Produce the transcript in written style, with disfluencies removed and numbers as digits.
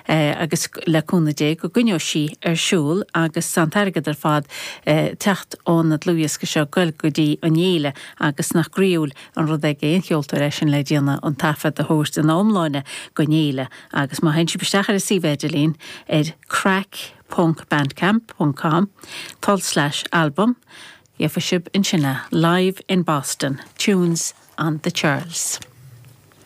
Agus le cúnamh Dé go gcoinneoidh sí ar siúl agus tá an t-airgead ar fad ag teacht ón dlúthdhiosca seo ag goil go dtí an fhéile agus nach groíúil an rud é d'aon cheoltóir é sin le déanamh an taifead a thabhairt ina iomláine don fhéile agus má théann sibh isteach ar an suíomh idirlín ar craic ponc bandcamp ponc com tulslais album gheobhaidh sibh ansin é, Live in Boston, Tunes on the Charles.